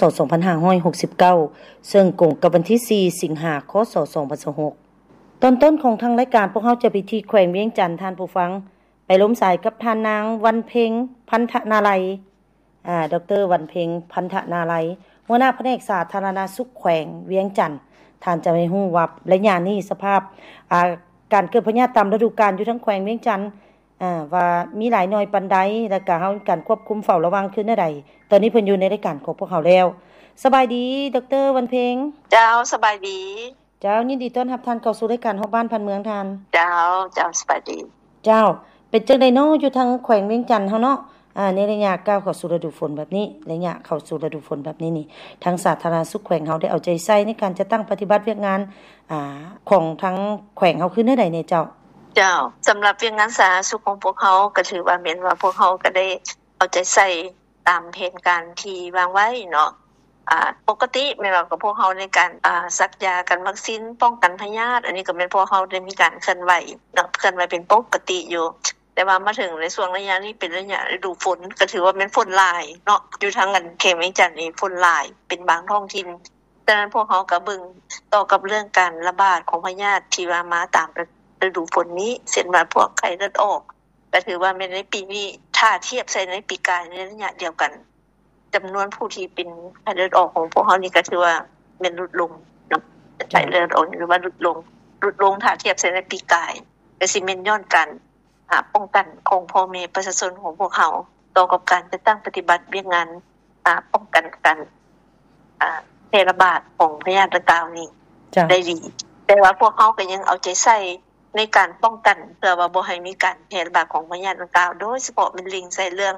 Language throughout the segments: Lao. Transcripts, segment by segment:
ສ ສອງພັນຫ້າຮ້ອຍຫົກສິບເກົ້າ ເຊິ່ງກົງກັບວັນທີສີ່ ສິງຫາ ຄສ ສອງພັນຊາວຫົກ. ຕອນຕົ້ນຂອງທາງລາຍການ ພວກເຮົາຈະໄປທີ່ແຂວງວຽງຈັນ ທ່ານຜູ້ຟັງ, ໄປລົມສາຍກັບທ່ານນາງ ວັນເພັງ ພັນທະນາໄລ, ອາ, ດອກເຕີ ວັນເພັງ ພັນທະນາໄລ, ຫົວໜ້າພະແນກສາທາລະນະສຸກແຂວງວຽງຈັນ. ທ່ານຈະໃຫ້ຮູ້ວ່າໄລຍະນີ້ສະພາບ, ອາ, ການເກີດພະຍາດຕາມລະດູການຢູ່ທາງແຂວງວຽງຈັນ, ອາ, ວ່າມີຫຼາຍໜ້ອຍປານໃດ ແລະກະເຮົາມີການຄວບຄຸມເຝົ້າລະວັງຄືແນວໃດ. ຕອນນີ້ເພິ່ນຢູ່ໃນລາຍການຂອງພວກເຮົາແລ້ວ. ສະບາຍດີ ດອກເຕີ ວັນເພັງ. ເຈົ້າ, ສະບາຍດີ. ເຈົ້າ, ຍິນດີຕ້ອນຮັບທ່ານເຂົ້າສູ່ລາຍການຮອບບ້ານພັນເມືອງທ່ານ. ເຈົ້າ, ເຈົ້າ, ສະບາຍດີ. ເຈົ້າ, ເປັນຈັ່ງໃດເນາະ ຢູ່ທາງແຂວງວຽງຈັນເຮົາເນາະ, ອາ, ໃນໄລຍະກ້າວເຂົ້າສູ່ລະດູຝົນແບບນີ້, ໄລຍະເຂົ້າສູ່ລະດູຝົນແບບນີ້ນີ້, ທາງສາທາລະນະສຸກແຂວງເຮົາໄດ້ເອົາໃຈໃສ່ໃນການຈັດຕັ້ງປະຕິບັດວຽກງານ, ອາ, ຂອງທາງແຂວງເຮົາຄືແນວໃດແດ່ເຈົ້າ? ເຈົ້າ, ສຳລັບວຽກງານສາທາລະນະສຸກຂອງພວກເຮົາ ກໍຖືວ່າແມ່ນວ່າພວກເຮົາກໍໄດ້ເອົາໃຈໃສ່ ຕາມແຜນການທີ່ວາງໄວ້ເນາະ. ອາ, ປົກກະຕິແມ່ນວ່າກັບພວກເຮົາໃນການ, ອາ, ສັກຢາກັນວັກຊີນປ້ອງກັນພະຍາດ, ອັນນີ້ກໍແມ່ນພວກເຮົາໄດ້ມີການເຄື່ອນໄຫວເນາະ, ເຄື່ອນໄຫວເປັນປົກກະຕິຢູ່. ແຕ່ວ່າມາເຖິງໃນຊ່ວງໄລຍະນີ້ເປັນໄລຍະລະດູຝົນ, ກໍຖືວ່າແມ່ນຝົນຫຼາຍເນາະ, ຢູ່ທາງອັນແຂວງວຽງຈັນນີ້ຝົນຫຼາຍເປັນບາງທ້ອງຖິ່ນ. ສະນັ້ນພວກເຮົາກໍເບິ່ງຕໍ່ກັບເລື່ອງການລະບາດຂອງພະຍາດທີ່ວ່າມາຕາມລະດູຝົນນີ້, ເຊັ່ນວ່າພວກໄຂ້ເລືອດອອກ, ກໍຖືວ່າແມ່ນໃນປີນີ້ ຖ້າທຽບໃສ່ໃນປີກາຍໃນໄລຍະດຽວກັນ, ຈຳນວນຜູ້ທີ່ເປັນໄຂ້ເລືອດອອກຂອງພວກເຮົານີ້ ກໍຖືວ່າແມ່ນຫຼຸດລົງເນາະ, ໄຂ້ເລືອດອອກນີ້ຖືວ່າຫຼຸດລົງ, ຫຼຸດລົງຖ້າທຽບໃສ່ໃນປີກາຍ, ກໍຊິແມ່ນຍ້ອນການ, ອາ, ປ້ອງກັນຂອງພໍ່ແມ່ປະຊາຊົນຂອງພວກເຮົາ ຕໍ່ກັບການຈັດຕັ້ງປະຕິບັດວຽກງານ, ອາ, ປ້ອງກັນການ, ອາ, ແຜ່ລະບາດຂອງພະຍາດດັ່ງກ່າວນີ້ໄດ້ດີ. ແຕ່ວ່າພວກເຮົາກໍຍັງເອົາໃຈໃສ່ ໃນການປ້ອງກັນ ເພື່ອວ່າບໍ່ໃຫ້ມີການແຜ່ລະບາດຂອງພະຍາດດັ່ງກ່າວ, ໂດຍສະເພາະແມ່ນເລັ່ງໃສ່ເລື່ອງ,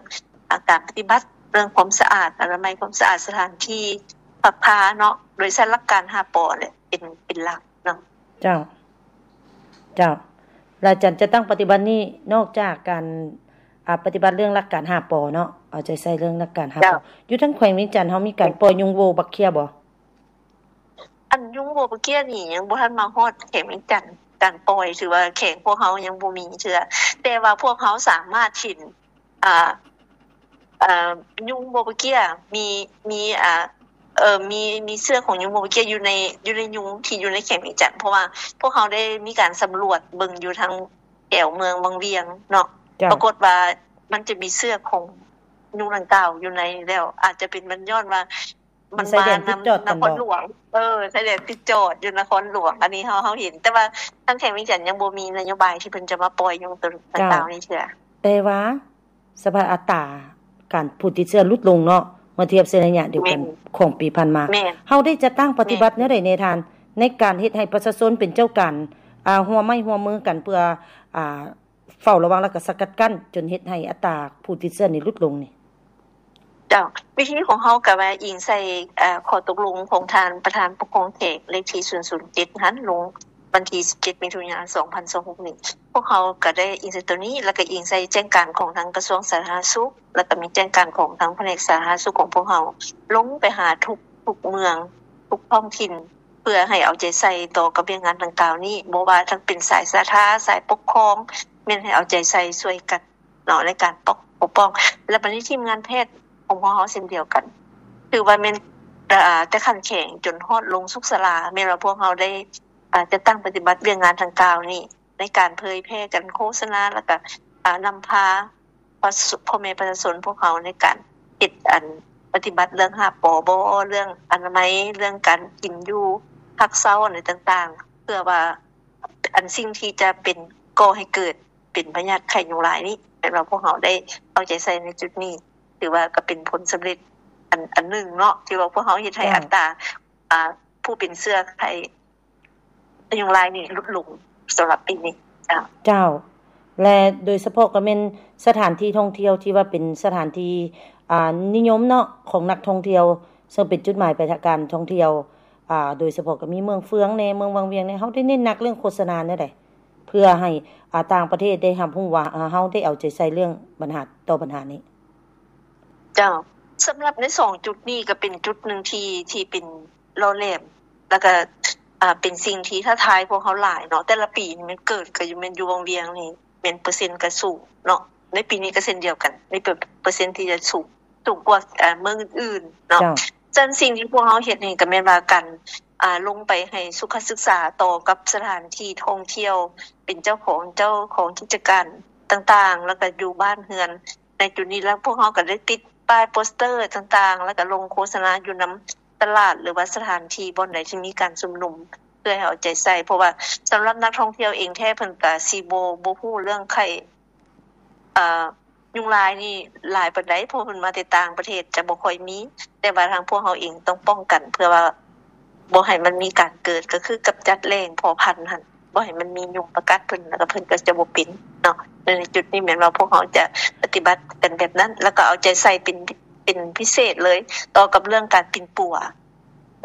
ອາ, ການປະຕິບັດເລື່ອງຄວາມສະອາດ, ອະນາໄມຄວາມສະອາດສະຖານທີ່ພັກພາເນາະ, ໂດຍໃຊ້ຫຼັກການຫ້າ ປ ແຫຼະ ເປັນ, ເປັນຫຼັກເນາະ. ເຈົ້າ, ເຈົ້າ. ແລະ ການຈັດຕັ້ງປະຕິບັດນີ້ ນອກຈາກການ, ອາ, ປະຕິບັດເລື່ອງຫຼັກການຫ້າ ປ ເນາະ, ເອົາໃຈໃສ່ເລື່ອງຫຼັກການຫ້າ ປ. ເຈົ້າ. ຢູ່ທາງແຂວງວຽງຈັນເຮົາມີການປ່ອຍຍຸງໂວບັກເຂ້ຍບໍ່? ອັນຍຸງໂວບັກເຂ້ຍນີ້ຍັງບໍ່ທັນມາຮອດແຂວງວຽງຈັນ, ການປ່ອຍຖືວ່າແຂວງພວກເຮົາຍັງບໍ່ມີເທື່ອ, ແຕ່ວ່າພວກເຮົາສາມາດເຫັນ, ອາ, ອາ, ຍຸງໂວບັກເຂ້ຍມີ, ມີ, ອາ, ເອີ, ມີ, ມີເຊື້ອຂອງຍຸງໂວບັກເຂ້ຍຢູ່ໃນ, ຢູ່ໃນຍຸງທີ່ຢູ່ໃນແຂວງວຽງຈັນ, ເພາະວ່າພວກເຮົາໄດ້ມີການສຳຫຼວດເບິ່ງຢູ່ທາງແຖວເມືອງວັງວຽງເນາະ, ເຈົ້າ. ປາກົດວ່າມັນຈະມີເຊື້ອຂອງຍຸງດັ່ງກ່າວຢູ່ໃນ, ແລ້ວອາດຈະເປັນມັນຍ້ອນວ່າ ມັນມານຳນະຄອນຫຼວງ, ເອີ, ຊາຍແດນຕິດຈອດຢູ່ນະຄອນຫຼວງ, ອັນນີ້ເຮົາ, ເຮົາເຫັນ, ແຕ່ວ່າທາງແຂວງວຽງຈັນຍັງບໍ່ມີນະໂຍບາຍທີ່ເພິ່ນຈະມາປ່ອຍຍຸງໂຕດັ່ງກ່າວນີ້ເທື່ອ. ແຕ່ວ່າສະພາບອັດຕາການຜູ້ຕິດເຊື້ອຫຼຸດລົງເນາະ, ເມື່ອທຽບໃສ່ໄລຍະດຽວກັນຂອງປີຜ່ານມາ. ເຮົາໄດ້ຈັດຕັ້ງປະຕິບັດແນວໃດແດ່ທ່ານ ໃນການເຮັດໃຫ້ປະຊາຊົນເປັນເຈົ້າການ, ອາ, ຮ່ວມໄມ້ຮ່ວມມືກັນເພື່ອ, ອາ, ເຝົ້າລະວັງ ແລະ ກະສະກັດກັ້ນ ຈົນເຮັດໃຫ້ອັດຕາຜູ້ຕິດເຊື້ອນີ້ຫຼຸດລົງນີ້? ເຈົ້າ, ວິທີຂອງເຮົາກະວ່າອີງໃສ່, ເອີ, ຂໍ້ຕົກລົງຂອງທ່ານປະທານປົກຄອງແຂວງເລກທີສູນສູນເຈັດຫັ້ນ, ລົງວັນທີສິບເຈັດ ມິຖຸນາ ສອງພັນຊາວຫົກນີ້. ພວກເຮົາກະໄດ້ອີງໃສ່ໂຕນີ້ ແລະ ກະອີງໃສ່ແຈ້ງການຂອງທາງກະຊວງສາທາລະນະສຸກ, ແລະ ກະມີແຈ້ງການຂອງທາງພະແນກສາທາລະນະສຸກຂອງພວກເຮົາ ລົງໄປຫາທຸກ, ທຸກເມືອງ, ທຸກທ້ອງຖິ່ນ ເພື່ອໃຫ້ເອົາໃຈໃສ່ຕໍ່ກັບວຽກງານດັ່ງກ່າວນີ້, ບໍ່ວ່າທັງເປັນສາຍສາທາ, ສາຍປົກຄອງ, ແມ່ນໃຫ້ເອົາໃຈໃສ່ຊ່ວຍກັນເນາະ ໃນການປົກ, ປົກປ້ອງ. ແລະ ບັດນີ້ທີມງານແພດຂອງພວກເຮົາເຊັ່ນດຽວກັນ, ຖືວ່າແມ່ນ, ເອີ, ແຕ່ຂັ້ນແຂວງຈົນຮອດລົງສຸກສາລາ, ແມ່ນວ່າພວກເຮົາໄດ້, ເອີ, ຈັດຕັ້ງປະຕິບັດວຽກງານດັ່ງກ່າວນີ້ ໃນການເຜີຍແຜ່ກັນໂຄສະນາ ແລ້ວກະ, ອາ, ນຳພາ ພໍ່ແມ່ປະຊາຊົນພວກເຮົາໃນການເຮັດອັນປະຕິບັດເລື່ອງຫ້າປ ບໍ່ ເລື່ອງອະນາໄມ ເລື່ອງການກິນຢູ່ພັກເຊົາ ອັນໃດຕ່າງໆ ເພື່ອວ່າອັນສິ່ງທີ່ຈະເປັນກໍ່ໃຫ້ເກີດ ເປັນພະຍາດໄຂ້ຍຸງລາຍນີ້ ແມ່ນວ່າພວກເຮົາໄດ້ເອົາໃຈໃສ່ໃນຈຸດນີ້ ຖືວ່າກໍເປັນຜົນສຳເລັດອັນ ອັນໜຶ່ງເນາະ ທີ່ວ່າພວກເຮົາເຮັດໃຫ້ ເຈົ້າ ອັດຕາ ອ່າ ຜູ້ເປັນເຊື້ອໄຂ້ຍຸງລາຍນີ້ຫຼຸດລົງສຳລັບປີນີ້. ເຈົ້າ ເຈົ້າ ແລະ ໂດຍສະເພາະກໍແມ່ນສະຖານທີ່ທ່ອງທ່ຽວທີ່ວ່າເປັນສະຖານທີ່ ອ່າ ນິຍົມເນາະ ຂອງນັກທ່ອງທ່ຽວ ເຊິ່ງເປັນຈຸດໝາຍປາຍທາງການທ່ອງທ່ຽວ ອ່າ ໂດຍສະເພາະກໍມີເມືອງເຟືອງແດ່ ເມືອງວັງວຽງແດ່ ເຮົາໄດ້ເນັ້ນໜັກເລື່ອງໂຄສະນາແນວໃດ ເພື່ອໃຫ້ ອ່າ ຕ່າງປະເທດໄດ້ຮັບຮູ້ວ່າ ເຮົາໄດ້ເອົາໃຈໃສ່ເລື່ອງບັນຫາ ຕໍ່ບັນຫານີ້? ເຈົ້າ ສຳລັບໃນສອງຈຸດນີ້ກໍເປັນຈຸດໜຶ່ງທີ່ ທີ່ເປັນຫຼໍ່ແຫຼມ ແລ້ວກໍ ອ່າ ເປັນສິ່ງທີ່ທ້າທາຍພວກເຮົາຫຼາຍເນາະ. ແຕ່ລະປີນີ້ແມ່ນເກີດກໍຢູ່ ແມ່ນຢູ່ວັງວຽງນີ້ແມ່ນເປີເຊັນກໍສູງເນາະ ໃນປີນີ້ກໍເຊັ່ນດຽວກັນ ມີເປີ ເປີເຊັນທີ່ຈະສູງ ສູງກວ່າ ເອີ ເມືອງອື່ນໆເນາະ. ເຈົ້າ ສະນັ້ນສິ່ງທີ່ພວກເຮົາເຮັດນີ້ກໍແມ່ນວ່າການ ອ່າ ລົງໄປໃຫ້ສຸຂະສຶກສາຕໍ່ກັບສະຖານທີ່ທ່ອງທ່ຽວ ເປັນເຈົ້າຂອງ ເຈົ້າຂອງກິດຈະການຕ່າງໆ ແລ້ວກໍຢູ່ບ້ານເຮືອນ ໃນຈຸດນີ້ ແລ້ວພວກເຮົາກໍໄດ້ຕິດປ້າຍໂປສເຕີຕ່າງໆ ແລ້ວກໍລົງໂຄສະນາຢູ່ນຳຕະຫຼາດ ຫຼືວ່າສະຖານທີ່ບ່ອນໃດທີ່ມີການຊຸມນຸມ ເພື່ອໃຫ້ເອົາໃຈໃສ່ ເພາະວ່າສຳລັບນັກທ່ອງທ່ຽວເອງແທ້ ເພິ່ນກໍຊິບໍ່ ບໍ່ຮູ້ເລື່ອງໄຂ້ ເອີ ຍຸງລາຍນີ້ຫຼາຍປານໃດ ເພາະເພິ່ນມາແຕ່ຕ່າງປະເທດຈະບໍ່ຄ່ອຍມີ ແຕ່ວ່າທາງພວກເຮົາເອງຕ້ອງປ້ອງກັນ ເພື່ອວ່າບໍ່ໃຫ້ມັນມີການເກີດ ກໍຄືກຳຈັດແຫຼງເພາະພັນຫັ້ນ ບໍ່ໃຫ້ມັນມີຍຸງມາກັດເພິ່ນ ແລ້ວກໍເພິ່ນກໍຈະບໍ່ເປັນເນາະ. ໃນຈຸດນີ້ແມ່ນວ່າພວກເຮົາຈະປະຕິບັດກັນແບບນັ້ນ ແລ້ວກໍເອົາໃຈໃສ່ເປັນ ເປັນພິເສດເລີຍ ຕໍ່ກັບເລື່ອງການປິ່ນປົວ.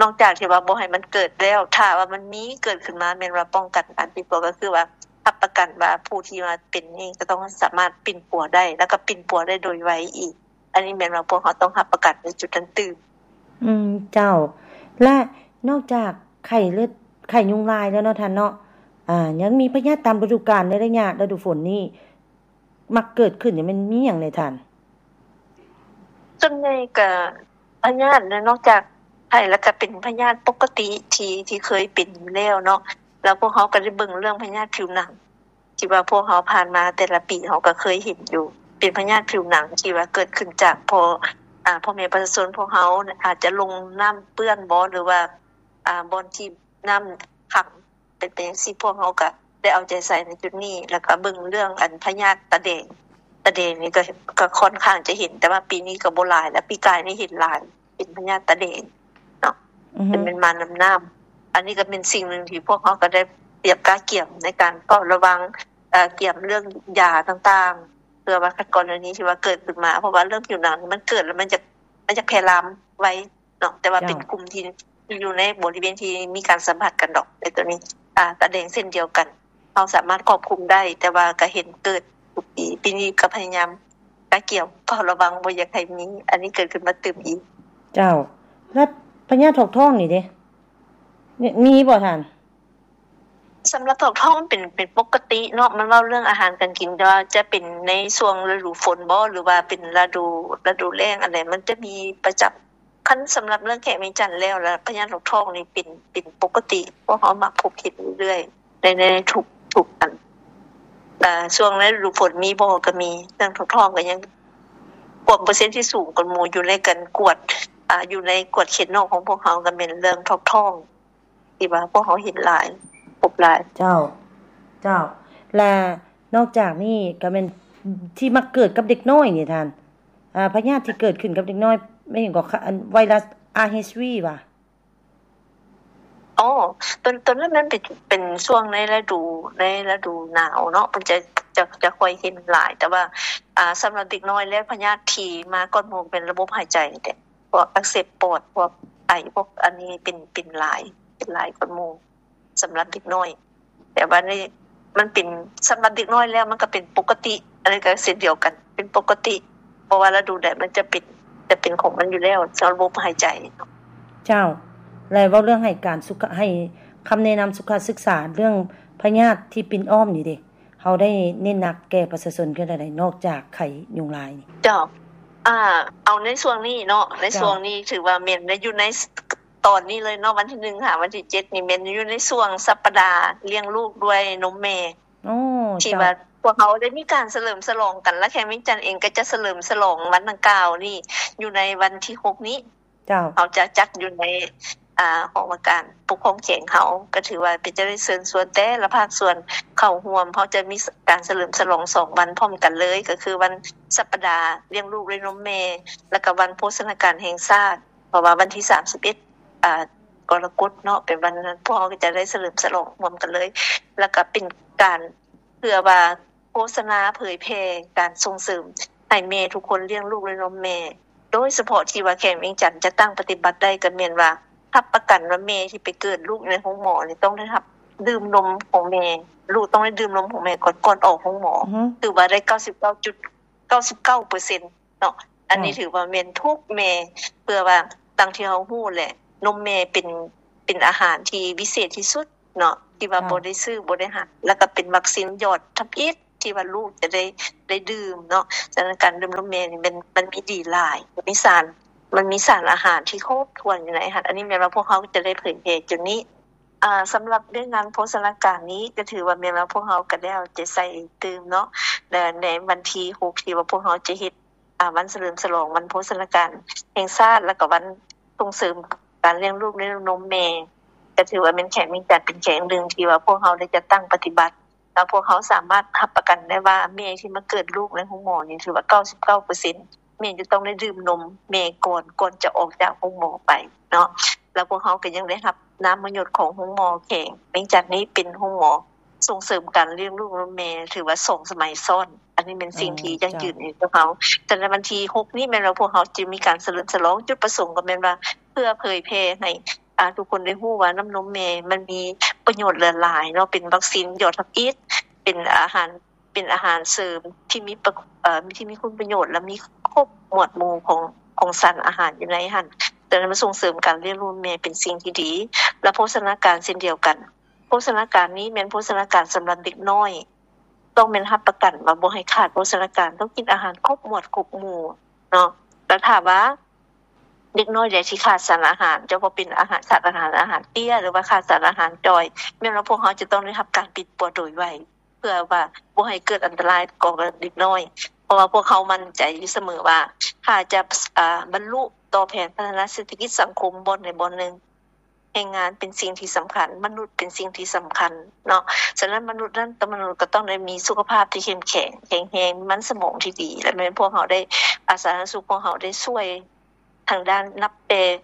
ນອກຈາກທີ່ວ່າບໍ່ໃຫ້ມັນເກີດແລ້ວ ຖ້າວ່າມັນມີເກີດຂຶ້ນມາ ແມ່ນວ່າປ້ອງກັນການປິ່ນປົວ ກໍຄືວ່າຮັບປະກັນວ່າຜູ້ທີ່ວ່າເປັນນີ້ຈະຕ້ອງສາມາດປິ່ນປົວໄດ້ ແລ້ວກໍປິ່ນປົວໄດ້ໂດຍໄວອີກ. ອັນນີ້ແມ່ນວ່າພວກເຮົາຕ້ອງຮັບປະກັນໃນຈຸດນັ້ນຕື່ມ. ອືມ ເຈົ້າ. ແລະ ນອກຈາກໄຂ້ເລືອດ ໄຂ້ຍຸງລາຍແລ້ວເນາະທ່ານເນາະ ອ່າ ຍັງມີພະຍາດຕາມລະດູການໃນໄລຍະລະດູຝົນນີ້ ມັກເກີດຂຶ້ນນີ້ ແມ່ນມີຫຍັງແດ່ທ່ານ? ສ່ວນໃຫຍ່ກະພະຍາດນະ ນອກຈາກໄຂ້ແລ້ວກະເປັນພະຍາດປົກກະຕິທີ່ ທີ່ເຄີຍເປັນຢູ່ແລ້ວເນາະ ແລ້ວພວກເຮົາກະໄດ້ເບິ່ງເລື່ອງພະຍາດຜິວໜັງ ທີ່ວ່າພວກເຮົາຜ່ານມາແຕ່ລະປີເຮົາກະເຄີຍເຫັນຢູ່ ເປັນພະຍາດຜິວໜັງທີ່ວ່າເກີດຂຶ້ນຈາກພໍ່ ອາ ພໍ່ແມ່ປະຊາຊົນພວກເຮົາອາດຈະລົງນ້ຳເປື້ອນບໍ ຫຼືວ່າ ອາ ບ່ອນທີ່ນ້ຳຂັງ ເປັນໄປຈັ່ງຊີ້ ພວກເຮົາກະໄດ້ເອົາໃຈໃສ່ໃນຈຸດນີ້ ແລ້ວກະເບິ່ງເລື່ອງອັນພະຍາດຕາແດງ ຕາແດງນີ້ກະ ກະຂ້ອນຂ້າງຈະເຫັນ ແຕ່ວ່າປີນີ້ກະບໍ່ຫຼາຍແລ້ວ ປີກາຍນີ້ເຫັນຫຼາຍ ເປັນພະຍາດຕາແດງເນາະ ອືຮຶ ເປັນ ແມ່ນມານຳນ້ຳ. ອັນນີ້ກະເປັນສິ່ງໜຶ່ງທີ່ພວກເຮົາກະໄດ້ຕຽມກະກຽມໃນການເຝົ້າລະວັງ ເອີ ກຽມເລື່ອງຢາຕ່າງໆ ເພື່ອວ່າຄັນກໍລະນີທີ່ວ່າເກີດຂຶ້ນມາ ເພາະວ່າເລື່ອງຜິວໜັງນີ້ມັນເກີດແລ້ວມັນຈະ ມັນຈະແຜ່ລາມໄວ ເນາະ ແຕ່ວ່າ ເຈົ້າ ເປັນກຸ່ມທີ່ ທີ່ຢູ່ໃນບໍລິເວນທີ່ມີການສຳຜັດກັນດອກ ໃນໂຕນີ້ ອາ ຕາແດງເຊັ່ນດຽວກັນ ເຮົາສາມາດຄວບຄຸມໄດ້ ແຕ່ວ່າກະເຫັນເກີດທຸກປີ ປີນີ້ກະພະຍາຍາມກະກຽມເຝົ້າລະວັງ ບໍ່ຢາກໃຫ້ມີອັນນີ້ເກີດຂຶ້ນມາຕື່ມອີກ. ເຈົ້າ ແລະ ພະຍາດຖອກທ້ອງນີ້ເດ ມີ ມີບໍ່ທ່ານ? ສຳລັບຖອກທ້ອງມັນເປັນ ເປັນປົກກະຕິເນາະ ມັນເວົ້າເລື່ອງອາຫານການກິນ ແຕ່ວ່າຈະເປັນໃນຊ່ວງລະດູຝົນບໍ ຫຼືວ່າເປັນລະດູ ລະດູແລ້ງ ອັນໃດມັນຈະມີປະຈຳ. ຄັນສຳລັບເລື່ອງແຂວງວຽງຈັນແລ້ວລະ ພະຍາດຖອກທ້ອງນີ້ເປັນ ເປັນປົກກະຕິ ພວກເຮົາມັກພົບເຫັນຢູ່ເລື້ອຍ ໃນ ໃນທຸກ ທຸກອັນ ອາ ຊ່ວງລະດູຝົນມີບໍ່ ກະມີ ເລື່ອງຖອກທ້ອງກະຍັງ ກວມເປີເຊັນທີ່ສູງກວ່າໝູ່ ຢູ່ໃນການກວດ ອາ ຢູ່ໃນກວດເຂດນອກຂອງພວກເຮົາ ກະແມ່ນເລື່ອງຖອກທ້ອງ ທີ່ວ່າພວກເຮົາເຫັນຫຼາຍ ພົບຫຼາຍ. ເຈົ້າ ເຈົ້າ ແລະ ນອກຈາກນີ້ກະແມ່ນທີ່ມັກເກີດກັບເດັກນ້ອຍນີ້ທ່ານ ອາ ພະຍາດທີ່ເກີດຂຶ້ນກັບເດັກນ້ອຍ ແມ່ນຫຍັງກໍ ອັນ ໄວຣັສ ອາ ເອດສ໌ ຫວາ? ອໍ ໂຕ ໂຕນັ້ນມັນເປັນ ເປັນຊ່ວງໃນລະດູ ໃນລະດູໜາວເນາະ ເພິ່ນຈະ ຈະ ຈະຄ່ອຍເຫັນຫຼາຍ ແຕ່ວ່າ ອາ ສຳລັບເດັກນ້ອຍແລ້ວ ພະຍາດທີ່ມາກ່ອນໝູ່ເປັນລະບົບຫາຍໃຈນີ້ແຫຼະ ພວກອັກເສບປອດ ພວກໄອ ພວກອັນນີ້ເປັນ ເປັນຫຼາຍ ເປັນຫຼາຍກວ່າໝູ່ ສຳລັບເດັກນ້ອຍ ແຕ່ວ່າໃນ ມັນເປັນ ສຳລັບເດັກນ້ອຍແລ້ວມັນກະເປັນປົກກະຕິ ອັນນີ້ກະເຊັ່ນດຽວກັນ ເປັນປົກກະຕິ ບໍ່ວ່າລະດູໃດມັນຈະເປັນ ຈະເປັນຂອງມັນຢູ່ແລ້ວ ສຳລັບລະບົບຫາຍໃຈ. ເຈົ້າ ແລະ ເວົ້າເລື່ອງໃຫ້ການສຸຂະ ໃຫ້ຄຳແນະນຳສຸຂະສຶກສາ ເລື່ອງພະຍາດທີ່ປິ່ນອ້ອມນີ້ເດ ເຮົາໄດ້ເນັ້ນໜັກແກ່ປະຊາຊົນຄືໃດ ນອກຈາກໄຂ້ຍຸງລາຍນີ້? ເຈົ້າ ອາ ເອົາໃນຊ່ວງນີ້ເນາະ ໃນ ເຈົ້າ ຊ່ວງນີ້ຖືວ່າແມ່ນໃນ ຢູ່ໃນຕອນນີ້ເລີຍເນາະ ວັນທີໜຶ່ງຫາວັນທີເຈັດນີ້ແມ່ນຢູ່ໃນຊ່ວງສັບປະດາລ້ຽງລູກດ້ວຍນົມແມ່ ອໍ ທີ່ ເຈົ້າ ວ່າພວກເຮົາໄດ້ມີການສະເຫຼີມສະຫຼອງກັນ ແລະ ແຂວງວຽງຈັນເອງກະຈະສະເຫຼີມສະຫຼອງວັນດັ່ງກ່າວນີ້ຢູ່ໃນວັນທີຫົກນີ້. ເຈົ້າ ເຮົາຈະຈັດຢູ່ໃນ ອ່າ ຫ້ອງວ່າການປົກຄອງແຂວງເຮົາ ກໍຖືວ່າເປັນຈະໄດ້ເຊີນຊວນແຕ່ລະພາກສ່ວນເຂົ້າຮ່ວມ. ເຮົາຈະມີ ສ- ການສະເຫຼີມສະຫຼອງສອງວັນພ້ອມກັນເລີຍ ກໍຄືວັນສັບປະດາລ້ຽງລູກດ້ວຍນົມແມ່ ແລ້ວກໍວັນໂພຊະນາການແຫ່ງຊາດ ເພາະວ່າວັນທີສາມສິບເອັດ ອ່າ ກໍລະກົດເນາະ ເປັນວັນນັ້ນ ພວກເຮົາກໍຈະໄດ້ສະເຫຼີມສະຫຼອງຮ່ວມກັນເລີຍ ແລ້ວກໍເປັນການ ເພື່ອວ່າໂຄສະນາເຜີຍແຜ່ການສົ່ງເສີມໃຫ້ແມ່ທຸກຄົນລ້ຽງລູກດ້ວຍນົມແມ່ ໂດຍສະເພາະທີ່ວ່າແຂວງວຽງຈັນຈະຕັ້ງປະຕິບັດໄດ້ ກໍແມ່ນວ່າຮັບປະກັນວ່າແມ່ທີ່ໄປເກີດລູກໃນໂຮງໝໍນີ້ຕ້ອງໄດ້ຮັບດື່ມນົມຂອງແມ່ ລູກຕ້ອງໄດ້ດື່ມນົມຂອງແມ່ກ່ອນ ກ່ອນອອກໂຮງໝໍ ອືຮຶ ຖືວ່າໄດ້ເກົ້າສິບເກົ້າຈຸດເກົ້າສິບເກົ້າເປີເຊັນ ເນາະ ອັນນີ້ ເຈົ້າ ຖືວ່າແມ່ນທຸກແມ່ ເພື່ອວ່າ ດັ່ງທີ່ເຮົາຮູ້ແຫຼະ ນົມແມ່ເປັນ ເປັນອາຫານທີ່ວິເສດທີ່ສຸດເນາະ ທີ່ວ່າ ເຈົ້າ ບໍ່ໄດ້ຊື້ ບໍ່ໄດ້ຫາ ແລ້ວກໍເປັນວັກຊີນຍອດທຳອິດທີ່ວ່າລູກຈະໄດ້ ໄດ້ດື່ມເນາະ. ສະນັ້ນການດື່ມນົມແມ່ນີ້ແມ່ນ ມັນມີດີຫຼາຍ ມັນມີສານ ມັນມີສານອາຫານທີ່ຄົບຖ້ວນຢູ່ໃນຫັ້ນ. ອັນນີ້ແມ່ນວ່າພວກເຮົາຈະໄດ້ເຜີຍແຜ່ຈຸດນີ້. ອ່າ ສຳລັບວຽກງານໂພຊະນາການນີ້ ກໍຖືວ່າແມ່ນວ່າພວກເຮົາກໍໄດ້ເອົາໃຈໃສ່ຕື່ມເນາະ ແລະ ໃນວັນທີຫົກ ທີ່ວ່າພວກເຮົາຈະເຮັດ ອ່າ ວັນສະເຫຼີມສະຫຼອງວັນໂພຊະນາການແຫ່ງຊາດ ແລ້ວກໍວັນສົ່ງເສີມການລ້ຽງລູກດ້ວຍນົມແມ່ ກໍຖືວ່າແມ່ນແຂວງວຽງຈັນເປັນແຂວງໜຶ່ງທີ່ວ່າພວກເຮົາໄດ້ຈັດຕັ້ງປະຕິບັດ ແລ້ວພວກເຮົາສາມາດຮັບປະກັນໄດ້ວ່າແມ່ທີ່ມາເກີດລູກໃນໂຮງໝໍນີ້ ຖືວ່າເກົ້າສິບເກົ້າເປີເຊັນ ແມ່ນຈະຕ້ອງໄດ້ດື່ມນົມແມ່ກ່ອນ ກ່ອນຈະອອກຈາກໂຮງໝໍໄປເນາະ. ແລ້ວພວກເຮົາກໍຍັງໄດ້ຮັບນາມມະຍົດຂອງໂຮງໝໍແຂວງວຽງຈັນນີ້ ເປັນໂຮງໝໍສົ່ງເສີມການລ້ຽງລູກນຳແມ່ ຖືວ່າສອງສະໄໝຊ້ອນ. ອັນນີ້ແມ່ນສິ່ງທີ່ ອໍ ເຈົ້າ ຢັ້ງຢືນໃຫ້ພວກເຮົາ. ສະນັ້ນວັນທີຫົກນີ້ແມ່ນວ່າພວກເຮົາຈະມີການສະເຫຼີມສະຫຼອງ ຈຸດປະສົງກໍແມ່ນວ່າເພື່ອເຜີຍແຜ່ໃຫ້ ອ່າ ທຸກຄົນໄດ້ຮູ້ວ່ານ້ຳນົມແມ່ມັນມີປະໂຫຍດຫຼາຍໆເນາະ ເປັນວັກຊີນຍອດທຳອິດ ເປັນອາຫານ ເປັນອາຫານເສີມທີ່ມີປະ ເອີ ທີ່ມີຄຸນປະໂຫຍດ ແລະ ມີຄົບໝວດໝູ່ຂອງ ຂອງສານອາຫານຢູ່ໃນຫັ້ນ. ສະນັ້ນມັນສົ່ງເສີມການລ້ຽງລູກແມ່ເປັນສິ່ງທີ່ດີ ແລະ ໂພຊະນາການເຊັ່ນດຽວກັນ. ໂພຊະນາການນີ້ແມ່ນໂພຊະນາການສຳລັບເດັກນ້ອຍ ຕ້ອງແມ່ນຮັບປະກັນວ່າບໍ່ໃຫ້ຂາດໂພຊະນາການ ຕ້ອງກິນອາຫານຄົບໝວດຄົບໝູ່ເນາະ. ແລ້ວຖ້າວ່າເດັກນ້ອຍໃດທີ່ຂາດສານອາຫານ ຈະບໍ່ເປັນອາຫານ ຂາດອາຫານ ອາຫານເຕ້ຍ ຫຼືວ່າຂາດສານອາຫານຈ່ອຍ ແມ່ນວ່າພວກເຮົາຈະຕ້ອງໄດ້ຮັບການປິ່ນປົວໂດຍໄວ ເພື່ອວ່າບໍ່ໃຫ້ເກີດອັນຕະລາຍຕໍ່ເດັກນ້ອຍ ເພາະວ່າພວກເຮົາໝັ້ນໃຈຢູ່ສະເໝີວ່າ ຖ້າຈະ ອາ ບັນລຸຕໍ່ແຜນພັດທະນາເສດຖະກິດສັງຄົມບ່ອນໃດບ່ອນໜຶ່ງ ແຮງງານເປັນສິ່ງທີ່ສຳຄັນ, ມະນຸດເປັນສິ່ງທີ່ສຳຄັນເນາະ. ສະນັ້ນມະນຸດນັ້ນ ມະນຸດກໍຕ້ອງໄດ້ມີສຸຂະພາບທີ່ເຂັ້ມແຂງ, ແຂງແຮງ, ມີມັນສະໝອງທີ່ດີ ແລະ ແມ່ນພວກເຮົາໄດ້ ອາ ສາທາລະນະສຸກຂອງເຮົາໄດ້ຊ່ວຍທາງດ້ານ ນັບແຕ່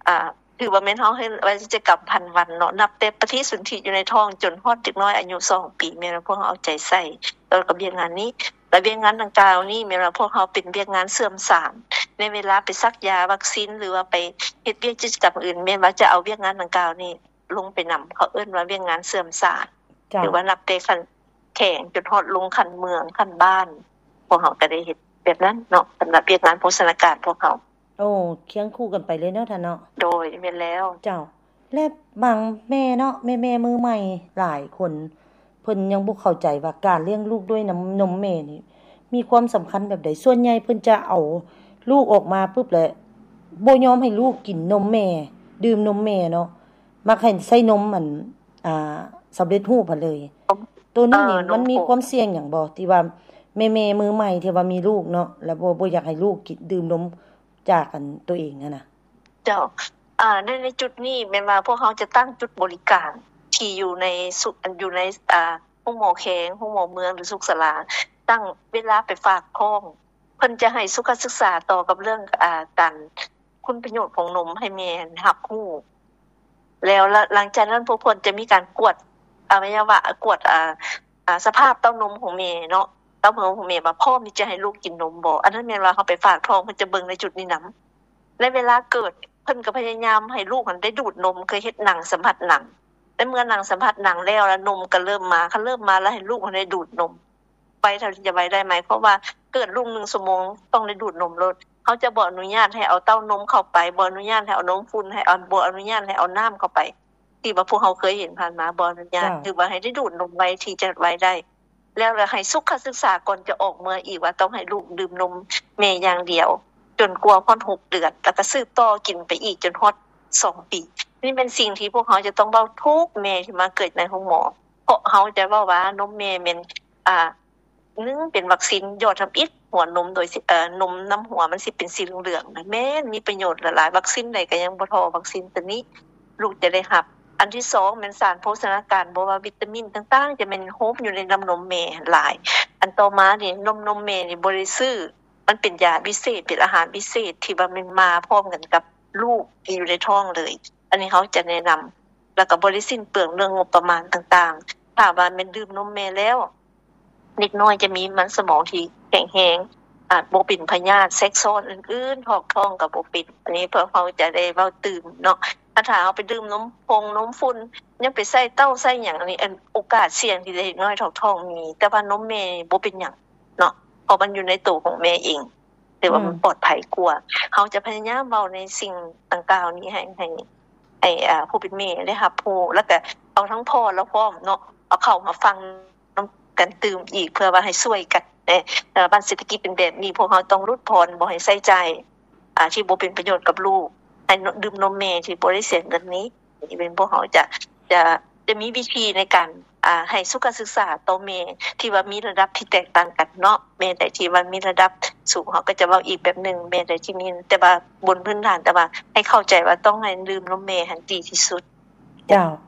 ອາ ຖືວ່າແມ່ນເຮົາເຮັດວາຈະກຳພັນວັນເນາະ, ນັບແຕ່ປະຕິສົນທິຢູ່ໃນທ້ອງຈົນຮອດເດັກນ້ອຍອາຍຸສອງປີ ແມ່ນວ່າພວກເຮົາເອົາໃຈໃສ່ ແລ້ວກໍວຽກງານນີ້ ແລະ ວຽກງານດັ່ງກ່າວນີ້ແມ່ນວ່າພວກເຮົາເປັນວຽກງານເຊື່ອມສານ ໃນເວລາໄປສັກຢາວັກຊີນ ຫຼືວ່າໄປເຮັດວຽກກິດຈະກຳອື່ນ ແມ່ນວ່າຈະເອົາວຽກງານດັ່ງກ່າວນີ້ລົງໄປນຳ ເຂົາເອີ້ນວ່າວຽກງານເຊື່ອມສານ ເຈົ້າ ຫຼືວ່ານັບແຕ່ຂັ້ນແຂວງຈົນຮອດລົງຂັ້ນເມືອງ ຂັ້ນບ້ານ ພວກເຮົາກໍໄດ້ເຮັດແບບນັ້ນເນາະ ສຳລັບວຽກງານໂພຊະນາການພວກເຮົາ. ໂອ້ ຄຽງຄູ່ກັນໄປເລີຍເນາະທ່ານເນາະ. ໂດຍ ແມ່ນແລ້ວ. ເຈົ້າ ແລະ ບາງແມ່ເນາະ ແມ່ໆມືໃໝ່ຫຼາຍຄົນ ເພິ່ນຍັງບໍ່ເຂົ້າໃຈວ່າການລ້ຽງລູກດ້ວຍນ້ຳນົມແມ່ນີ້ມີຄວາມສຳຄັນແບບໃດ. ສ່ວນໃຫຍ່ເພິ່ນຈະເອົາລູກອອກມາປຶບ ແລະ ບໍ່ຍອມໃຫ້ລູກກິນນົມແມ່ ດື່ມນົມແມ່ເນາະ ມັກໃຫ້ໃຊ້ນົມອັນ ອ່າ ສຳເລັດຮູບຫັ້ນເລີຍ. ໂຕນີ້ນີ້ ເອີ ມັນມີຄວາມສ່ຽງຫຍັງບໍ່ ທີ່ວ່າແມ່ໆມືໃໝ່ທີ່ວ່າມີລູກເນາະ ແລ້ວບໍ່ ບໍ່ຢາກໃຫ້ລູກກິນ ດື່ມນົມຈາກອັນໂຕເອງຫັ້ນນະ? ເຈົ້າ ອາ ໃນ ໃນຈຸດນີ້ແມ່ນວ່າພວກເຮົາຈະຕັ້ງຈຸດບໍລິການທີ່ຢູ່ໃນສຸ ຢູ່ໃນ ອາ ໂຮງໝໍແຂວງ ໂຮງໝໍເມືອງ ຫຼື ສຸກສາລາ ຕັ້ງເວລາໄປຝາກທ້ອງ ເພິ່ນຈະໃຫ້ສຸຂະສຶກສາຕໍ່ກັບເລື່ອງ ອາ ການຄຸນປະໂຫຍດຂອງນົມໃຫ້ແມ່ຮັບຮູ້ ແລ້ວ ແລ້ວຫຼັງຈາກນັ້ນພວກເພິ່ນຈະມີການກວດອະໄວຍະວະ ກວດ ອາ ອາ ສະພາບເຕົ້ານົມຂອງແມ່ເນາະ ເຕົ້ານົມຂອງແມ່ວ່າພ້ອມທີ່ຈະໃຫ້ລູກກິນນົມບໍ່. ອັນນັ້ນແມ່ນວ່າເຮົາໄປຝາກທ້ອງ ເພິ່ນຈະເບິ່ງໃນຈຸດນີ້ນຳ. ໃນເວລາເກີດ ເພິ່ນກໍພະຍາຍາມໃຫ້ລູກຫັ້ນໄດ້ດູດນົມ ຄືເຮັດໜັງສຳຜັດໜັງ. ໃນເມື່ອໜັງສຳຜັດໜັງແລ້ວ ແລ້ວນົມກໍເລີ່ມມາ ຄັນເລີ່ມມາແລ້ວ ໃຫ້ລູກຫັ້ນໄດ້ດູດນົມ ໄວເທົ່າທີ່ຈະໄວໄດ້ ໝາຍຄວາມວ່າເກີດລູກໜຶ່ງຊົ່ວໂມງຕ້ອງໄດ້ດູດນົມໂລດ. ເຮົາຈະບໍ່ອະນຸຍາດໃຫ້ເອົາເຕົ້ານົມເຂົ້າໄປ, ບໍ່ອະນຸຍາດໃຫ້ເອົານົມຝຸ່ນ, ໃຫ້ເອົາ ບໍ່ອະນຸຍາດໃຫ້ເອົານ້ຳເຂົ້າໄປ ທີ່ວ່າພວກເຮົາເຄີຍເຫັນຜ່ານມາ ບໍ່ອະນຸຍາດ. ເຈົ້າ. ຖືວ່າໃຫ້ໄດ້ດູດນົມໄວທີ່ຈະໄວໄດ້ ແລ້ວລະໃຫ້ສຸຂະສຶກສາກ່ອນຈະອອກເມືອອີກວ່າຕ້ອງໃຫ້ລູກດື່ມນົມແມ່ຢ່າງດຽວ ຈົນກວ່າຮອດຫົກເດືອນ ແລ້ວກໍສືບຕໍ່ກິນໄປອີກຈົນຮອດສອງປີ. ນີ້ແມ່ນສິ່ງທີ່ພວກເຮົາຈະຕ້ອງເວົ້າທຸກແມ່ທີ່ມາເກີດໃນໂຮງໝໍ ເພາະເຮົາຈະເວົ້າວ່ານົມແມ່ແມ່ນ ອາ ໜຶ່ງ ເປັນວັກຊີນຢອດທຳອິດຫົວນົມ ໂດຍ ເອີ ນົມນຳຫົວມັນຊິເປັນສີເຫຼືອງໆ ແມ່ນມີປະໂຫຍດຫຼາຍໆ ວັກຊີນໃດກໍຍັງບໍ່ທໍ່ວັກຊີນຕົວນີ້. ລູກຈະໄດ້ຮັບ. ອັນທີສອງແມ່ນສານໂພຊະນາການ ບໍ່ວ່າວິຕາມິນຕ່າງໆ ຈະແມ່ນໂຮມຢູ່ໃນນ້ຳນົມແມ່ຫັ້ນຫຼາຍ. ອັນຕໍ່ມານີ້ ນົມ ນົມແມ່ນີ້ບໍ່ໄດ້ຊື້ ມັນເປັນຢາພິເສດ ເປັນອາຫານພິເສດທີ່ວ່າແມ່ນມາພ້ອມກັນກັບລູກທີ່ຢູ່ໃນທ້ອງເລີຍ. ອັນນີ້ເຮົາຈະແນະນຳ ແລ້ວກໍບໍ່ໄດ້ສິ້ນເປືອງເລື່ອງງົບປະມານຕ່າງໆ. ຖ້າວ່າແມ່ນດື່ມນົມແມ່ແລ້ວ ເດັກນ້ອຍຈະມີມັນສະໝອງທີ່ແຂງແຮງ ອາດບໍ່ເປັນພະຍາດແຊກຊ້ອນອື່ນໆ ຖອກທ້ອງກໍບໍ່ເປັນ. ອັນນີ້ພວກເຮົາຈະໄດ້ເວົ້າຕື່ມເນາະ. ຖ້າ ຖ້າເຮົາໄປດື່ມນົມຜົງນົມຝຸ່ນ ຍັງໄປໃສ່ເຕົ້າໃສ່ຫຍັງ ອັນນີ້ ອັນ ໂອກາດສ່ຽງທີ່ເດັກນ້ອຍຖອກທ້ອງມີ, ແຕ່ວ່ານົມແມ່ບໍ່ເປັນຫຍັງເນາະ ເພາະມັນຢູ່ໃນໂຕຂອງແມ່ເອງ. ຖືວ່າມັນປອດໄພກວ່າ. ເຮົາຈະພະຍາຍາມເວົ້າໃນສິ່ງດັ່ງກ່າວນີ້ໃຫ້ ໃຫ້ ໃຫ້ ອ່າ ຜູ້ເປັນແມ່ໄດ້ຮັບຮູ້ ແລ້ວກະເອົາທັງພໍ່ລາວພ້ອມເນາະ ເອົາເຂົ້າມາຟັງນຳກັນຕື່ມອີກ ເພື່ອວ່າໃຫ້ຊ່ວຍກັນເດ້. ເອີ ບັດເສດຖະກິດເປັນແບບນີ້ ພວກເຮົາຕ້ອງຫຼຸດຜ່ອນ ບໍ່ໃຫ້ໃຊ້ຈ່າຍ ອ່າ ທີ່ບໍ່ເປັນປະໂຫຍດກັບລູກ, ໃຫ້ ນ- ດື່ມນົມແມ່ທີ່ບໍ່ໄດ້ເສຍເງິນນີ້. ທີ່ເປັນພວກເຮົາຈະ ຈະ ຈະມີວິທີໃນການ ອ່າ ໃຫ້ສຸຂະສຶກສາຕໍ່ແມ່ທີ່ວ່າມີລະດັບທີ່ແຕກຕ່າງກັນເນາະ. ແມ່ໃດທີ່ວ່າມີລະດັບສູງ ເຮົາກໍຈະເວົ້າອີກແບບໜຶ່ງ, ແມ່ໃດທີ່ມີ ແຕ່ວ່າບົນພື້ນຖານ ແຕ່ວ່າໃຫ້ເຂົ້າໃຈວ່າຕ້ອງໃຫ້ດື່ມນົມແມ່ຫັ້ນດີທີ່ສຸດ. ເຈົ້າ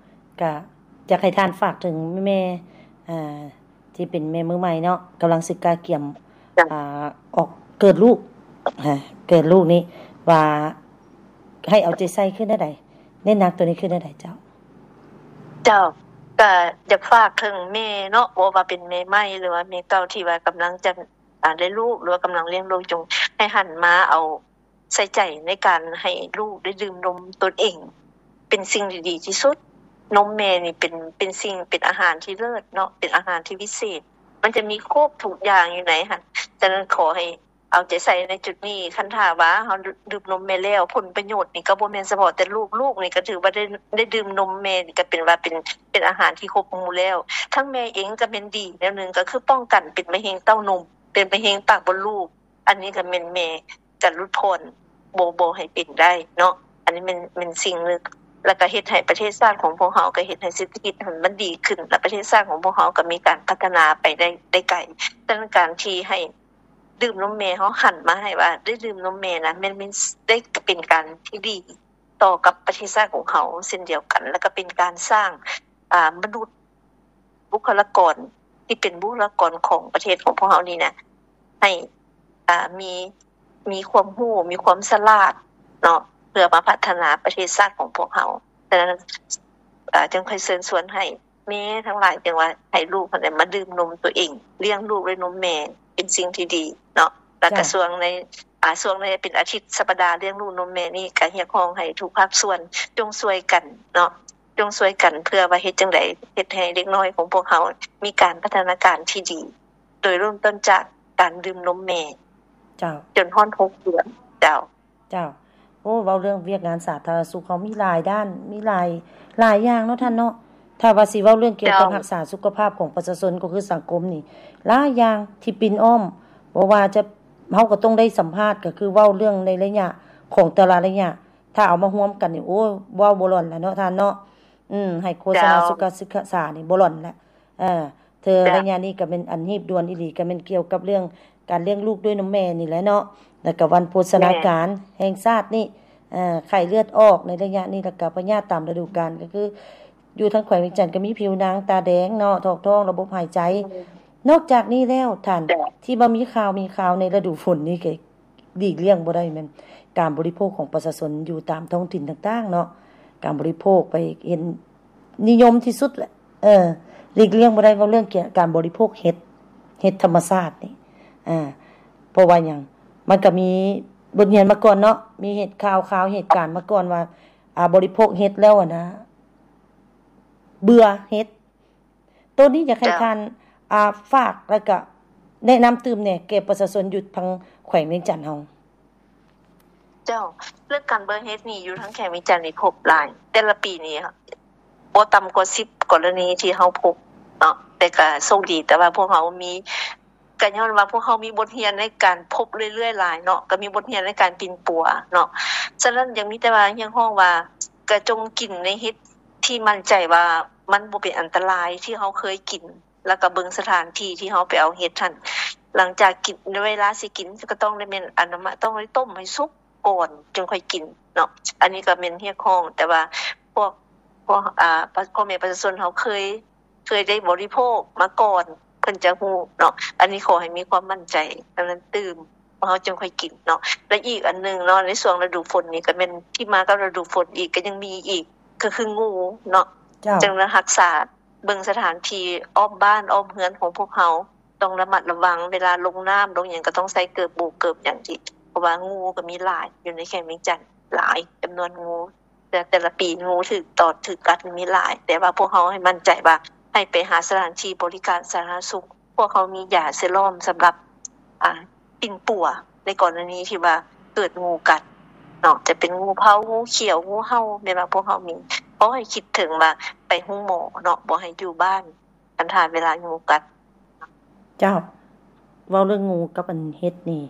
ກະຢາກໃຫ້ທ່ານຝາກເຖິງແມ່ ອ່າ ທີ່ເປັນແມ່ມືໃໝ່ເນາະ ກຳລັງສິກະກຽມ ເຈົ້າ ອ່າ ອອກເກີດລູກ ເກີດລູກນີ້ ວ່າໃຫ້ເອົາໃຈໃສ່ຄືແນວໃດ ເນັ້ນໜັກໂຕນີ້ຄືແນວໃດເຈົ້າ? ເຈົ້າ ກະຢາກຝາກເຖິງແມ່ເນາະ ບໍ່ວ່າເປັນແມ່ໃໝ່ ຫຼືວ່າແມ່ເກົ່າທີ່ວ່າກຳລັງຈະ ອ່າ ໄດ້ລູກ ຫຼືວ່າກຳລັງລ້ຽງລູກ ຈົ່ງໃຫ້ຫັນມາເອົາ ໃສ່ໃຈໃນການໃຫ້ລູກໄດ້ດື່ມນົມຕົນເອງ ເປັນສິ່ງທີ່ດີທີ່ສຸດ. ນົມແມ່ນີ້ເປັນ ເປັນສິ່ງ ເປັນອາຫານທີ່ເລີດເນາະ ເປັນອາຫານທີ່ວິເສດ ມັນຈະມີຄົບທຸກຢ່າງຢູ່ໃນຫັ້ນ. ສະນັ້ນ ຂໍໃຫ້ເອົາໃຈໃສ່ໃນຈຸດນີ້. ຄັນຖ້າວ່າເຮົາດື່ມນົມແມ່ແລ້ວ ຜົນປະໂຫຍດນີ້ກໍບໍ່ແມ່ນສະເພາະແຕ່ລູກ, ລູກນີ້ກໍຖືວ່າໄດ້ ໄດ້ດື່ມນົມແມ່ນີ້ ກໍເປັນວ່າເປັນ ເປັນອາຫານທີ່ຄົບໝູ່ແລ້ວ. ທັງແມ່ເອງກໍແມ່ນດີແນວໜຶ່ງ ກໍຄືປ້ອງກັນເປັນມະເຮັງເຕົ້ານົມ, ເປັນມະເຮັງປາກມົດລູກ. ອັນນີ້ກໍແມ່ນແມ່ກະຫຼຸດຜ່ອນ ບໍ່ ບໍ່ໃຫ້ເປັນໄດ້ເນາະ. ອັນນີ້ແມ່ນ ແມ່ນສິ່ງໜຶ່ງ ແລ້ວກະເຮັດໃຫ້ປະເທດຊາດຂອງພວກເຮົາ ກະເຮັດໃຫ້ເສດຖະກິດຫັ້ນມັນດີຂຶ້ນ ແລະ ປະເທດຊາດຂອງພວກເຮົາກະມີການພັດທະນາໄປໄດ້ ໄດ້ໄກ. ສະນັ້ນ ການທີ່ໃຫ້ດື່ມນົມແມ່ ເຮົາຫັນມາໃຫ້ວ່າໄດ້ດື່ມນົມແມ່ນະ ແມ່ນ ແມ່ນ ໄດ້ ກະເປັນການທີ່ດີຕໍ່ກັບປະເທດຊາດຂອງເຮົາເຊັ່ນດຽວກັນ ແລ້ວກະເປັນການສ້າງ ອ່າ ມະນຸດ ບຸກຄະລາກອນທີ່ເປັນບຸກຄະລາກອນຂອງປະເທດຂອງພວກເຮົານີ້ນະ ໃຫ້ ອ່າ ມີ ມີຄວາມຮູ້ ມີຄວາມສະຫຼາດເນາະ ເພື່ອມາພັດທະນາປະເທດຊາດຂອງພວກເຮົາ. ສະນັ້ນ ເອີ ຈຶ່ງຄ່ອຍເຊີນຊວນໃຫ້ແມ່ທັງຫຼາຍ ຈຶ່ງວ່າໃຫ້ລູກຫັ້ນແຫຼະມາດື່ມນົມຕົວເອງ, ລ້ຽງລູກດ້ວຍນົມແມ່ ເປັນສິ່ງທີ່ດີເນາະ. ແລ້ວກະ ເຈົ້າ ຊ່ວງໃນ ອ່າ ຊ່ວງໃນເປັນອາທິດສັບປະດາລ້ຽງລູກນົມແມ່ນີ້ ກະຮຽກຮ້ອງໃຫ້ທຸກພາກສ່ວນຈົ່ງຊ່ວຍກັນເນາະ, ຈົ່ງຊ່ວຍກັນເພື່ອວ່າເຮັດຈັ່ງໃດເຮັດໃຫ້ເດັກນ້ອຍຂອງພວກເຮົາມີການພັດທະນາການທີ່ດີ ໂດຍເລີ່ມຕົ້ນຈາກການດື່ມນົມແມ່ ເຈົ້າ ຈົນຮອດຫົກເດືອນ. ເຈົ້າ ເຈົ້າ ໂອ້ ເວົ້າເລື່ອງວຽກງານສາທາລະນະສຸກເຮົາມີຫຼາຍດ້ານ ມີຫຼາຍ ຫຼາຍຢ່າງເນາະທ່ານເນາະ. ຖ້າວ່າຊິເວົ້າເລື່ອງກ່ຽວກັບ ເຈົ້າ ຮັກສາສຸຂະພາບຂອງປະຊາຊົນ ກໍຄືສັງຄົມນີ້ ຫຼາຍຢ່າງທີ່ປິ່ນອ້ອມ ບໍ່ວ່າຈະ ເຮົາກໍຕ້ອງໄດ້ສຳພາດ ກໍຄືເວົ້າເລື່ອງໃນໄລຍະຂອງແຕ່ລະໄລຍະ ຖ້າເອົາມາຮວມກັນນີ້ ໂອ້ ເວົ້າບໍ່ຫຼອນລະເນາະທ່ານເນາະ. ອືມ ໃຫ້ໂຄສະນາ ເຈົ້າ ສຸຂະສຶກສານີ້ບໍ່ຫຼອນລະ. ເອີ ເທື່ອໄລຍະນີ້ກໍແມ່ນອັນຮີບດ່ວນອີ່ຫຼີ ກໍແມ່ນກ່ຽວກັບເລື່ອງການລ້ຽງລູກດ້ວຍນົມແມ່ນີ້ແຫຼະເນາະ ແລ້ວກໍວັນໂພຊະນາການແຫ່ງຊາດນີ້ ເອີ ໄຂ້ເລືອດອອກໃນໄລຍະນີ້ ແລ້ວກໍພະຍາດຕາມລະດູການ ກໍຄືຢູ່ທາງແຂວງວຽງຈັນກໍມີຜິວໜັງຕາແດງເນາະ ຖອກທ້ອງ ລະບົບຫາຍໃຈ. ອືມ ນອກຈາກນີ້ແລ້ວທ່ານ ເຈົ້າ ທີ່ວ່າມີຂ່າວ ມີຂ່າວໃນລະດູຝົນນີ້ກໍ ຫຼີກລ່ຽງບໍ່ໄດ້ແມ່ນການບໍລິໂພກຂອງປະຊາຊົນຢູ່ຕາມທ້ອງຖິ່ນຕ່າງໆເນາະ. ການບໍລິໂພກໄປເຫັນນິຍົມທີ່ສຸດແຫຼະ ເອີ ຫຼີກລ່ຽງບໍ່ໄດ້ ເວົ້າເລື່ອງການບໍລິໂພກເຫັດ ເຫັດທຳມະຊາດນີ້ ເອີ ເພາະວ່າຫຍັງ ມັນກະມີບົດຮຽນມາກ່ອນເນາະ ມີເຫດຂ່າວ ຂ່າວເຫດການມາກ່ອນວ່າ ອາ ບໍລິໂພກເຫັດແລ້ວ ອັນນະ ເບື່ອເຫັດ. ໂຕນີ້ຢາກໃຫ້ ເຈົ້າ ທ່ານ ອ່າ ຝາກ ແລ້ວກະແນະນຳຕື່ມແດ່ແກ່ປະຊາຊົນຢູ່ທາງແຂວງວຽງຈັນເຮົາ. ເຈົ້າ ເລື່ອງການເບື່ອເຫັດນີ້ຢູ່ທາງແຂວງວຽງຈັນນີ້ພົບຫຼາຍ ແຕ່ລະປີນີ້ບໍ່ຕ່ຳກວ່າສິບກໍລະນີທີ່ເຮົາພົບເນາະ ແຕ່ກະໂຊກດີ ແຕ່ວ່າພວກເຮົາມີ ກະຍ້ອນວ່າພວກເຮົາມີບົດຮຽນໃນການພົບເລື້ອຍໆຫຼາຍເນາະ ກະມີບົດຮຽນໃນການປິ່ນປົວເນາະ. ສະນັ້ນ ຍັງມີແຕ່ວ່າຮຽກຮ້ອງວ່າ ກະຈົ່ງກິນໃນເຫັດທີ່ໝັ້ນໃຈວ່າມັນບໍ່ເປັນອັນຕະລາຍ ທີ່ເຮົາເຄີຍກິນ ແລ້ວກະເບິ່ງສະຖານທີ່ທີ່ເຮົາໄປເອົາເຫັດຫັ້ນ. ຫຼັງຈາກກິນ ເວລາຊິກິນກະຕ້ອງໄດ້ແມ່ນ ອັນນັ້ນ ຕ້ອງໄດ້ຕົ້ມໃຫ້ສຸກກ່ອນຈຶ່ງຄ່ອຍກິນເນາະ. ອັນນີ້ກະແມ່ນຮຽກຮ້ອງ ແຕ່ວ່າພວກ ວກ ອ່າ ພໍ່ແມ່ປະຊາຊົນເຮົາເຄີຍ ເຄີຍໄດ້ບໍລິໂພກມາກ່ອນ ເພິ່ນຈະຮູ້ເນາະ. ອັນນີ້ຂໍໃຫ້ມີຄວາມໝັ້ນໃຈ ອັນນັ້ນຕື່ມ ພວກເຮົາຈຶ່ງຄ່ອຍກິນເນາະ. ແລະ ອີກອັນໜຶ່ງເນາະ ໃນຊ່ວງລະດູຝົນນີ້ ກໍແມ່ນທີ່ມາກັບລະດູຝົນອີກ ກໍຍັງມີອີກ ກໍຄືງູເນາະ. ເຈົ້າ ຈຶ່ງໄດ້ຮັກສາ ເບິ່ງສະຖານທີ່ອ້ອມບ້ານອ້ອມເຮືອນຂອງພວກເຮົາ ຕ້ອງລະມັດລະວັງ ເວລາລົງນ້ຳລົງຫຍັງ ກໍຕ້ອງໃສ່ເກີບໂບກເກີບຫຍັງທີ່ ເພາະວ່າງູກໍມີຫຼາຍຢູ່ໃນແຂວງວຽງຈັນ ຫຼາຍຈຳນວນງູ ແຕ່ ແຕ່ລະປີງູຖືກຕອດຖືກກັດມີຫຼາຍ. ແຕ່ວ່າພວກເຮົາໃຫ້ໝັ້ນໃຈວ່າ ໃຫ້ໄປຫາສະຖານທີ່ບໍລິການສາທາລະນະສຸກ ພວກເຮົາມີຢາເຊຣອມສຳລັບ ອ່າ ປິ່ນປົວ ໃນກໍລະນີທີ່ວ່າເກີດງູກັດເນາະ ຈະເປັນງູເພົາ ງູຂຽວ ງູເຫົ່າ ແມ່ນວ່າພວກເຮົາມີ. ຂໍໃຫ້ຄິດເຖິງວ່າໄປໂຮງໝໍເນາະ ບໍ່ໃຫ້ຢູ່ບ້ານ ຄັນຖ້າເວລາງູກັດ. ເຈົ້າ ເວົ້າເລື່ອງງູກັບອັນເຫັດນີ້